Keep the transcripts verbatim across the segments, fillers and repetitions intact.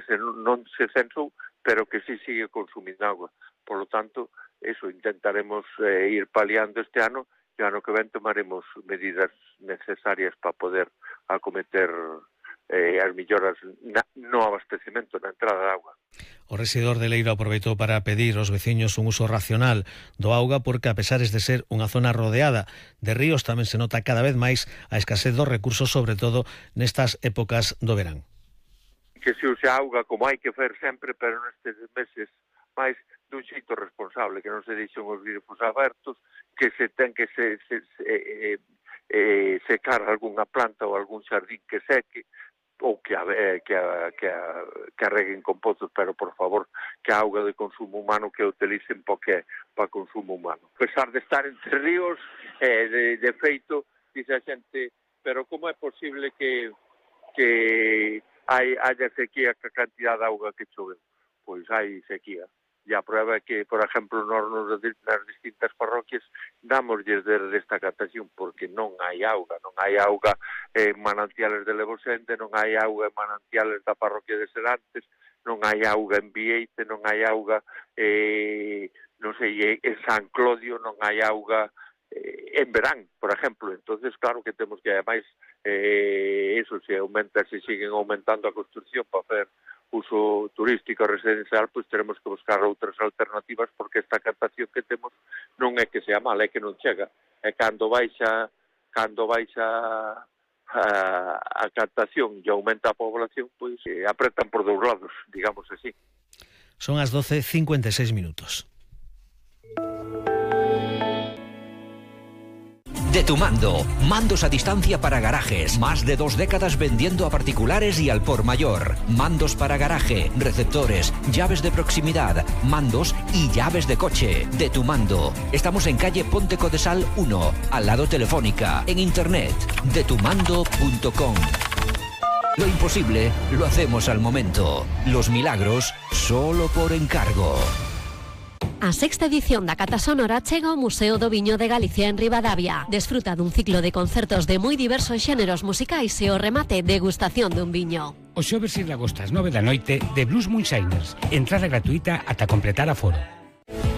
se, non se censou, pero que sí sigue consumindo agua. Por lo tanto, eso, intentaremos eh, ir paliando este ano, e ano que ven tomaremos medidas necesarias para poder acometer eh, as melloras na, no abastecemento, na entrada de agua. O rexedor de Leiro aproveitou para pedir aos veciños un uso racional do auga porque, a pesares de ser unha zona rodeada de ríos, tamén se nota cada vez máis a escasez dos recursos, sobre todo nestas épocas do verán. Que se use auga como hai que fer sempre, pero nestes meses máis dun xeito responsable, que non se deixen os grifos abertos, que se ten que se, se, se eh, eh, secar algunha planta ou algún xardín que seque, ou que a, eh, que, a, que, a, que arreguen con pozos, pero por favor que a auga de consumo humano que a utilicen porque para consumo humano. A pesar de estar entre ríos, eh, de, de feito, dice a xente, pero como é posible que, que hai, haya sequía ca cantidad de auga que chove? Pois hai sequía. E a prueba é que, por exemplo, nos, nas distintas parroquias dámoslles desde esta catación porque non hai auga, non hai auga en manantiales de Levosende, non hai auga en manantiales da parroquia de Serantes, non hai auga en Bieite, non hai auga eh, non sei, en San Clodio, non hai auga eh, en verán, por exemplo. Entonces, claro que temos que, ademais, eh, eso, se aumenta, se siguen aumentando a construcción para hacer uso turístico residencial, pois teremos que buscar outras alternativas porque esta captación que temos non é que sea mala, é que non chega. E cando baixa cando baixa a, a captación e aumenta a población, pois eh, apretan por dous lados, digamos así. Son as doce e cincuenta e seis minutos. De Tu Mando, mandos a distancia para garajes, más de dos décadas vendiendo a particulares y al por mayor. Mandos para garaje, receptores, llaves de proximidad, mandos y llaves de coche. De Tu Mando. Estamos en calle Ponte Codesal uno, al lado Telefónica, en internet, de tu mando punto com. Lo imposible lo hacemos al momento. Los milagros solo por encargo. A sexta edición da Cata Sonora chega ao Museo do Viño de Galicia en Ribadavia. Desfruta dun ciclo de concertos de moi diversos xéneros musicais e o remate degustación dun viño. O xoves e de agosto ás nove da noite de Blues Moonshiners. Entrada gratuita ata completar aforo.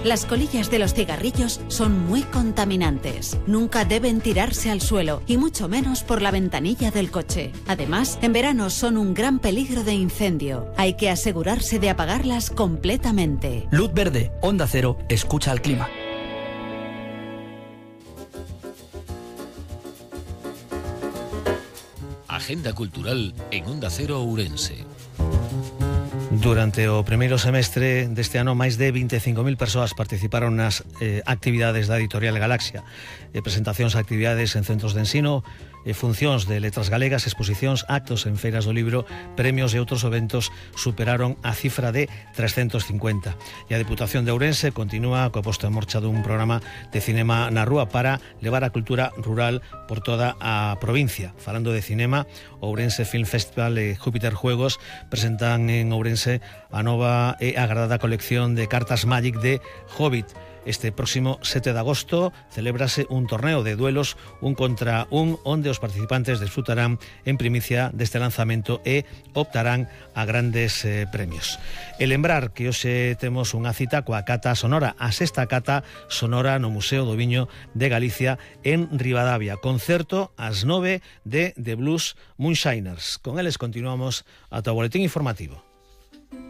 Las colillas de los cigarrillos son muy contaminantes. Nunca deben tirarse al suelo y mucho menos por la ventanilla del coche. Además, en verano son un gran peligro de incendio. Hay que asegurarse de apagarlas completamente. Luz verde, Onda Cero, escucha al clima. Agenda cultural en Onda Cero Ourense. Durante o primeiro semestre deste ano, máis de vinte e cinco mil persoas participaron nas eh, actividades da Editorial Galaxia. Eh, presentacións, actividades en centros de ensino, eh, funcións de letras galegas, exposicións, actos en feiras do libro, premios e outros eventos superaron a cifra de trescentos cincuenta. E a Deputación de Ourense continúa coa posta en marcha dun programa de cinema na rúa para levar a cultura rural por toda a provincia. Falando de cinema, Ourense Film Festival e Júpiter Juegos presentan en Ourense a nova e agradada colección de cartas Magic de Hobbit. Este próximo sete de agosto celébrase un torneo de duelos un contra un onde os participantes desfrutarán en primicia deste lanzamento e optarán a grandes eh, premios. E lembrar que hoxe temos unha cita coa Cata Sonora, a sexta Cata Sonora no Museo do Viño de Galicia en Ribadavia. Concerto ás nove de The Blues Moonshiners. Con eles continuamos ata o boletín informativo.